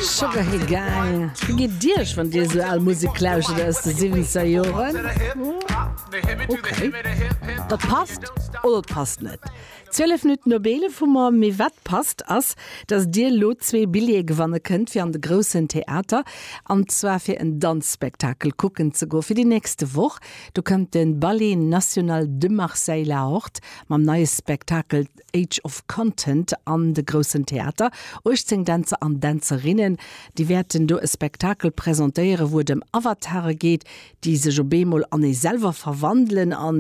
Sugar Hill Gang, wéi geet et Iech, wann Dir esou al Musek lauschtert aus de siwwenzeger Joren? Ok, dat passt oder et passt net. 12 Minutten op 11 hu mer. Mee wat passt ass, dass Dir elo zwee Billjeeë gewanne kënnt fir an de Groussen Theater, an zwar fir en Danzspektakel kucken ze goen fir déi nächste Woch. Do kënnt de Ballet National de Marseille La Horte mam neie Spektakel Age of Content an de Groussen Theater. 18 Dänzer an Dänzerinnen, déi wäerten do e Spektakel presentéieren, wou et ëm Avatare geet, déi sech op eemol an ee selwer verwandelen an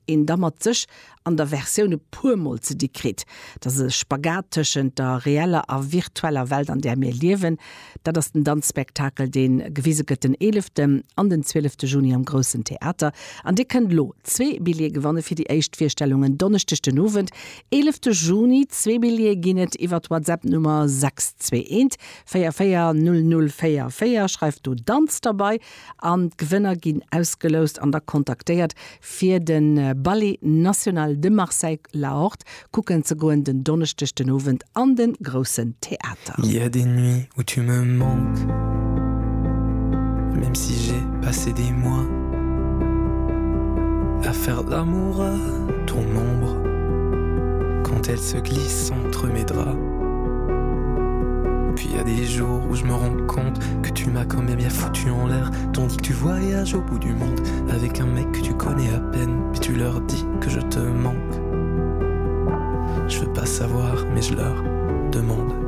een da mat sech an der Versioun e puer Mol ze di kritt. Dat ass e Spagat tëschent der reeller a virtueller Welt, an där mir liewen. Dat ass den Danzspektakel, dee gewise gëtt den eeleften an den zwielefte Juni am Groussen Theater. An Dir kënnt elo zwee Billjeeë gewanne fir déi éischt Virstellung en Donneschdeg den Owend, eelefte Juni. Zwee Billjeeë ginn et iwwer d'WhatsApp-Nummer 621 44 00 44. Schreift do Danz derbei an d'Gewënner ginn ausgeloust an da kontaktéiert fir de Ballet National de Marseille La Horde kucken ze goen den Donneschdeg den Owend an de Groussen Theater. Il y a des nuits où tu me manques Même si j'ai passé des mois À faire l'amour à ton ombre Quand elle se glisse entre mes draps Puis il y a des jours où je me rends compte Que tu m'as quand même bien foutu en l'air Tandis que tu voyages au bout du monde Avec un mec que tu connais à peine Puis tu leur dis que je te manque Je veux pas savoir mais je leur demande.